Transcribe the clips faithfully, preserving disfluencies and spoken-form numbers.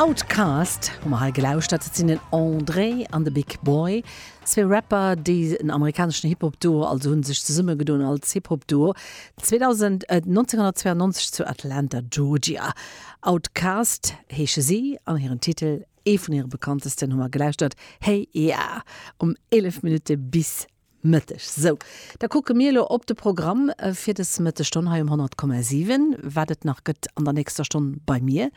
Outkast hu mer hei gelauschtert. Dat sinn den André an de Big Boi, zwee Rapper, déi en amerikaneschen Hip-Hop-Duo, also hu sech zesummegedoen als Hip-Hop-Duo zweedausend, nonzénghonnertzweeangnonzeg zu Atlanta, Georgia. Outkast heesche si an hiren Titel, ee vun hire bekanntesten, hu mer gelauschtert, Hey Ya, um eelef Minutte bis Mëtteg. Sou, da kucke mir elo op de Programm fir dës Mëttesstonn hei um honnert Komma siwen, wat et nach gëtt an der nächster Stonn bei mir.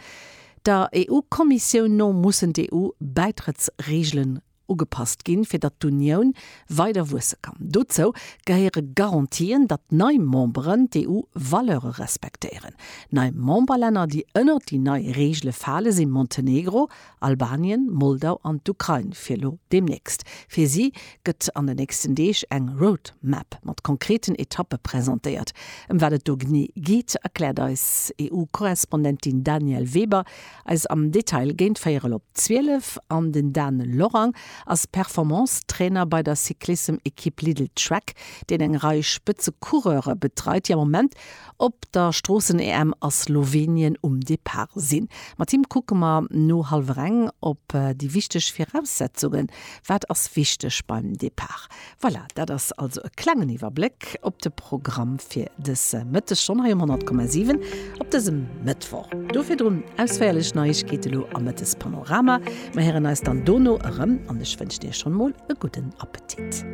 Der EU-Kommissioun no mussen d'EU-Bäitrëttsreegelen ugepasst ginn, fir datt d'Unioun weider wuesse kann. Dozou gehéiere Garantien, datt nei Memberen d'EU-Valeure respektéieren. Nei Memberlänner, déi ënnert déi nei Reegele fale si Montenegro, Albanien, Moldau an d'Ukrain fir elo deemnächst. Fir si gëtt an den nächsten Deeg eng Roadmap mat konkreten Etappe presentéiert. Ëm wat et do genee geet, erkläert eis EU-Korrespondentin Danièle Weber eis am Detail géint véierel op zwielef. An den Dan Lorang ass Performance-Trainer bei der Cyclissem-Ekipp Lidl-Trek, deen eng Rei Spëtze-Coureure betreit, déi am Moment op der Stroossen-EM a Slowenien um Depart sinn. Mat him kucke mer no hallwer eng op déi wichteg Viraussetzungen. Wat ass wichteg beim Depart? Voilà, dat ass also e klengen Iwwerbléck op de Programm fir dës Mëttesstonn hei um honnert Komma siwen op dësem Mëttwoch. Do virdrun ausféierlech Neiegkeete lo am Mëttespanorama. Mer héieren eis dann dono erëm an ech wënschen Iech schonn mol e gudden Appetit.